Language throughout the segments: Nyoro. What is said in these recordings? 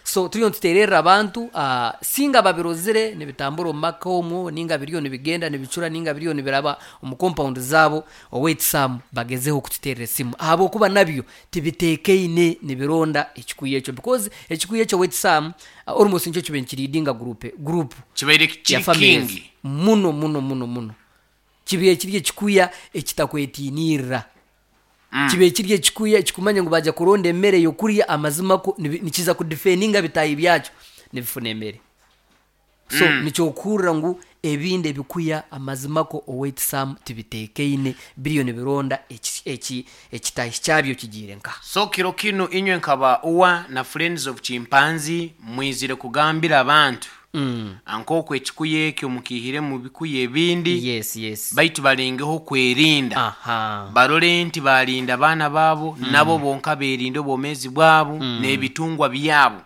So turiyo nitutererra abantu, singa babirozire nibitambura omu maka omwo, ninga biriyo nibigenda nibicura, ninga biriyo nibiraba omu compound zaabo, owaitu Sam bagezeho kututerra esimu ahabwokuba nabyo tibiteekaine nibironda ekikuya ekyo because ekikuya ekyo owaitu Sam almost nikyo kibaire nikileadinga group, group Kibaire ya kiri families kingi. muno muno muno muno. Kibaire kiri ekikuya ekitakwetiinirra. Kibaire kiri ekikuya ekikumanya ngu baaja kuronda emere y'okurya amazima kwo nikiza kudifendinga bitaahi byakyo nibifuna emere. So nikyokuhurira ngu ebindi ebikuya amazima kwo owaitu Sam tibiteekaine biriyo nibironda ekitaahi kyabyo kigiire nkaha. So kiro kinu inywe nkaba UWA na Friends of Chimpanzee mwizire kugambira abantu nk'oku ekikuya ekyo mukiihire mu bikuya ebindi, Yes, yes. baitu balengeho kwerinda, barole nti baalinda abaana baabo, nabo bonka beerinde obwomeezi bwabo n'ebitungwa byabo,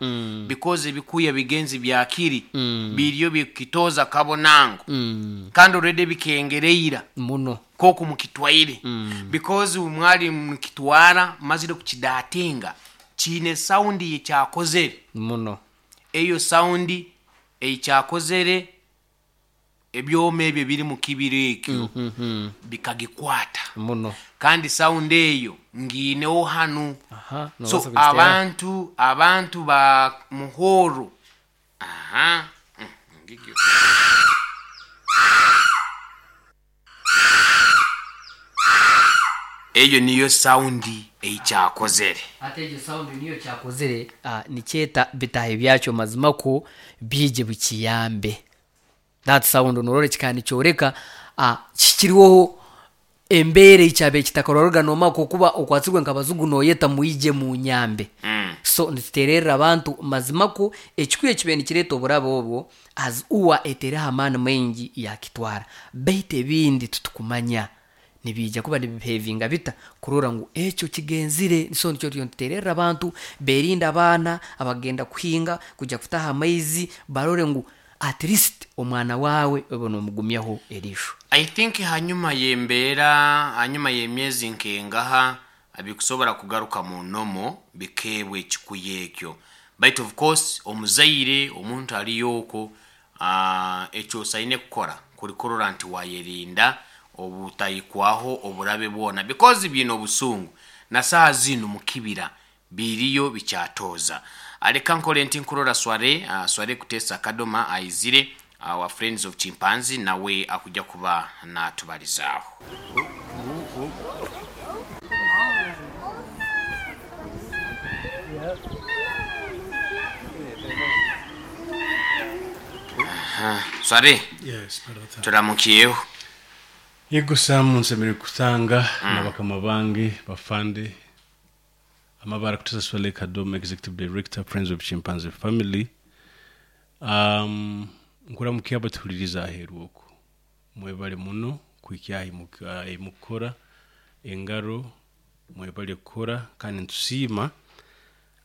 because ebikuya bigenzi bya kiri biriyo bikukitooza kabonango, kandi already bikengereira Muno. nk'oku mukitwaire, because mwali mukitwara mumazire kukidatinga, kiine sound eyekyakozere. Muno. Eyo sound eikyakozere ebyoma ebyo ebiri mu kibira ekyo bikagikwata. Muno. Kandi sound eyo ngiineho hanu. Aha, So nobaasa kugiteera. abantu ba Muhoro, aha, ngigyo. Eyo niyo sound eikyakozere. Hati egyo sound niyo kyakozire, nikyeta bitaahi byakyo mazima kwo biije bikiyambe. That sound norora kikaba nikyoreka kihikirweho embeera ei kyabaire kitakarorwaga noomanya ku okuba okwatsirwe nk'abazigu nooyeta mwije munyambe. So nituteererra abantu mazima kwo ekikuya ekibaire nikireeta oburabe obwo as UWA etaireho amaani maingi yaakitwara. Beitu ebindi titukumanya nibiija kuba nibibehevinga bita kurora ngu ekyo kigenzire. So nikyo turiyo nituteererra abantu beerinde abaana abakugenda kuhinga, kwija kutaha amaizi barore ngu at least omwana waawe obe noomugumyaho eriisho. I think hanyuma y'embeera, hanyuma y'emyezi nk'engaha, bikusobora kugaruka mu normal bikeebwa ekikuya ekyo. Baitu of course omuzaire, omuntu aliyo okwo, eki osaine kukora kuri kurora nti wayerinda obutahikwaho oburabe bwona because biine obusungu. Na saaha zinu mu kibira biriyo bikyatooza. Leka nkore nti nkurora Sware, Sware Kutesa Kadoma aizire, wa Friends of Chimpanzee nawe akuja kuba natubalizaaho. Sware, Yes, brother. turamukyeho. Yego Sam, nsemereire kutanga na bakama bange bafande amabara Kutesa Swale Kadoma, Executive Director, Friends of Chimpanzee Family. Nkuramukia abatuhuliriza aheeru oku, mwebale muno kuhikya ahi mukukora engaro, mwebale kukora kandi nitusiima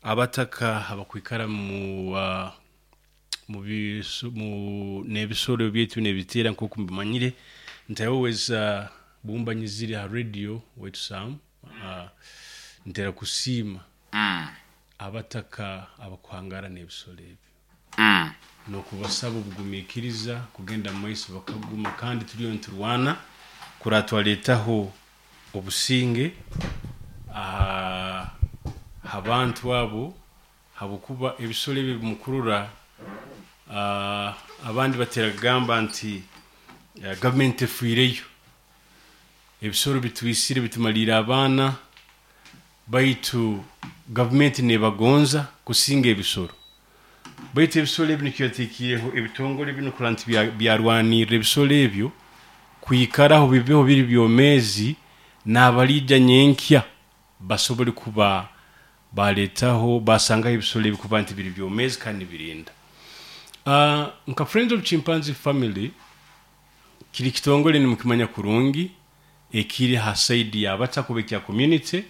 abataka abakwikara mu n'ebisoro byaitu n'ebiteera nk'oku mbimanyire nti I always bumbanyizire ha radio waitu Sam, ntera kusiima abataka abakuhangara n'ebisoro ebyo n'okubasaba obugumiikiriza kugenda mu maiso bakaguma, kandi turiyo niturwana kurora twaretaho obusinge aha bantu abo, habwokuba ebisoro ebi mukurora, abandi batera kugamba nti gavumenti efiireyo, ebisoro bitwisire bitumaliire abaana, baitu gavumenti nebagonza kusinga ebisoro. Baitu ebisoro ebi nikyo yateekiireho ebitongore binu kurora nti byarwanirra ebisoro ebyo kwikaraho bibeho biri byomeezi, n'abaliija nyenkya basobole kuba baleetaho basangaho ebisoro ebi kuba nti biri byomeezi kandi nibirinda. Nka Friends of Chimpanzee Family kiri kitongore nimukimanya kurungi ekiri ha side y'abataka oba ekya community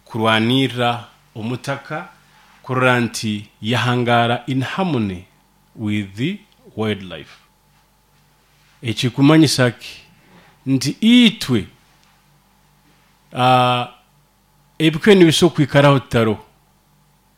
kurwanirra omutaka kurora nti yahangara in harmony with the wildlife. Ekikumanyisa ki? Nti itwe ebikuya nibisobola kwikaraho tutaroho.